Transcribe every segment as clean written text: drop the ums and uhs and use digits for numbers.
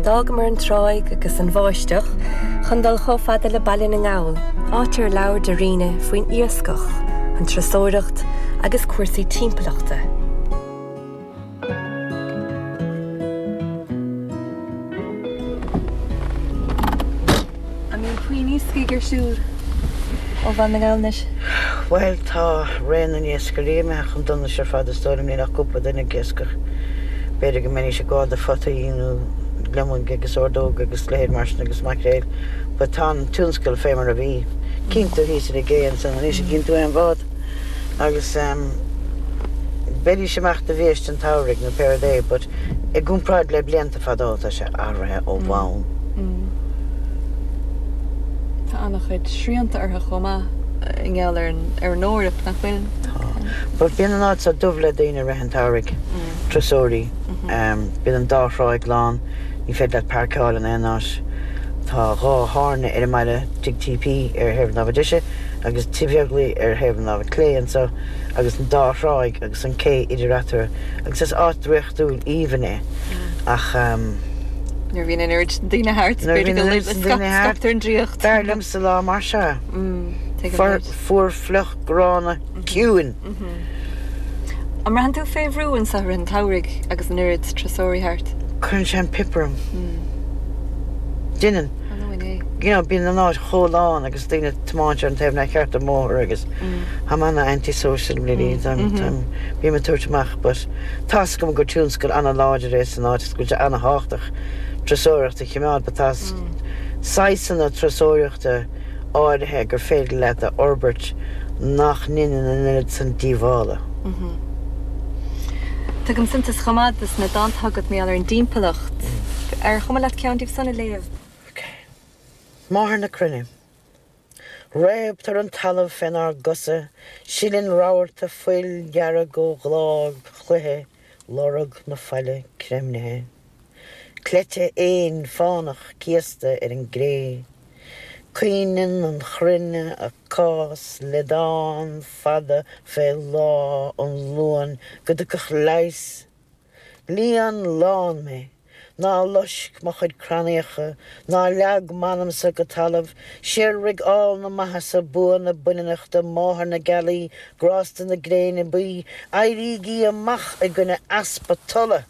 D'fhágamar an tráigh agus an bháisteach chun dul chomh fada le Baile na nGall, áit ar labhair Darina faoin iascach, an turasóireacht agus cúrsaí timpeallachta. An mbíonn puinn iascaigh ar siúl ó Bhaile na nGall anois? Bhuel, tá ré na n-iascairí imithe chun donais ar fad is dóigh liom, níl ach cúpla duine ag iascach. B'fhéidir go mbeidís ag gabháil do photaí nó gliomaigh agus ordóga agus leithéid mar sin agus maicréil but tá an tionscal fé mar a bhí. Cíonn tú thíos ar an gcé ansan anois, cíonn tú aon bhád agus ehm bheidís amach do bhiaiste an tsamhraidh nó pé rud é but i gcomparáid le blianta fadó tá sé athraithe ó bhonn. Tá an-chuid srianta orthu chomh maith i ngeall ar an ar an Eoraip, nach bhfuil? Tá. But bíonn an áit seo dubh le daoine i rith an tsamhraidh, turasóirí. Bíonn an dá thráigh lán, ní féidir leat páirceáil in aon áit. Tá dhá thábhairne ar an mbaile, Tigh TP ar thaobh na láimhe deise agus Tigh Bheaglaoich ar thaobh na láimhe clé anseo agus an dá thráigh agus an cé idir eatarthu agus is áit draíochtúil aoibhinn é ach Nuair a bhíonn an oiread sin daoine thart, Nuair a bhíonn an oiread sin daoine thart, scaiptear an draíocht. B'fhearr liomsa lá mar seo. Fuar fliuch gránna ciúin. An mbraitheann tú fé bhrú anseo i rith an tsamhraidh agus an oiread turasóirí thart? Cuireann sé an pip orm. Deineann. You know, bíonn an áit chomh lán agus daoine ag tiomáint ar an taobh nár cheart den mbóthar agus táim ana-anti-social really, táim, táim, bím ag tabhairt amach but tá's agam gur tionscal ana-láidir é san áit agus go bhfuil sé ana-thábhachtach turasóireacht a choimeád but tá saghsanna turasóireachta áirithe gur féidir leat a fhorbairt nach ndeineann an oiread san díobhála. Tugaim suntas chomh maith dos na dánta agat mar gheall ar an dtimpeallacht. Ar chuma leat ceann díobh san a léamh? Ok. Máthair na Cruinne. Réabtar an talamh fénár gcosa, sileann rabharta fuil dhearg ó ghlág chloiche lorg na faille creimnithe. Cleite éin fánach céasta ar an gcré. Caoineann an chruinne a cás le dán fada fé lá an Luain go dtiocfadh leigheas. Líon lán mé. Ná loisc mo chuid crannaíocha, ná leag m'anamsa go talamh, síolraigh ál na maitheasa, bua na baineannachta, máthair na gealaí, grásta na gréine buí, éirígí amach i gcoinne easpa tola!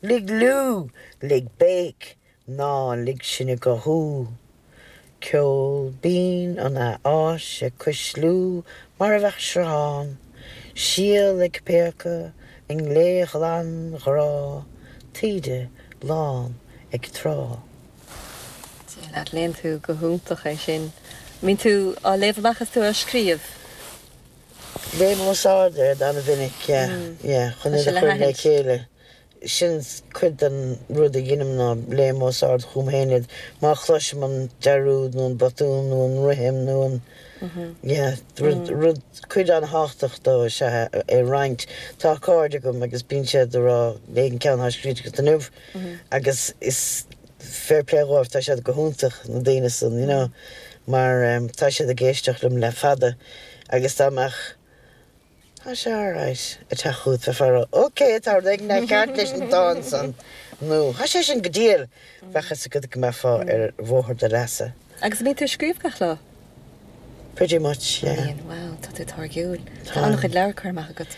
Lig liú! Lig béic! Ná lig sinn ag gothú. Ceol binn an athfháis ag cuisliú mar a bheadh sruthán, síol ag péacadh i nglé ghlan ghrá, taoide lán ag trá. Dia leat, léann tú go hiontach é sin. An mbíonn tú á léamh amach is tú á scríobh? Léim os ard iad an-mhinic, yeah, yeah, chun iad a chur le chéile. Sin cuid den rud a dheinim ná léim os ard chugam féin iad. Má chloisim an dearúd nó an botún nó an rithim nó an, yeah, rud, rud, cuid an-thábhachtach dó is ea é a roinnt. Tá cairde agam agus bíonn siad ag rá léigh an ceann atá scríte agat inniu agus is fair play dhóibh, tá siad go hiontach, na daoine san, you know, mar tá siad ag éisteacht liom le fada agus dá mbeadh, Tá sé alright ag teacht chugat bheifeá ag rá ok tá rud éigin nár cheart leis an dán san nó tá sé sin go diail! Bheadh fhios agat go mbeifeá ar bhóthar do leasa. Agus an mbíonn tú ag scríobh gach lá? Pretty much, yeah. Bíonn, wow, tá tú táirgiúil. Tá an-chuid leabhar curtha amach agat.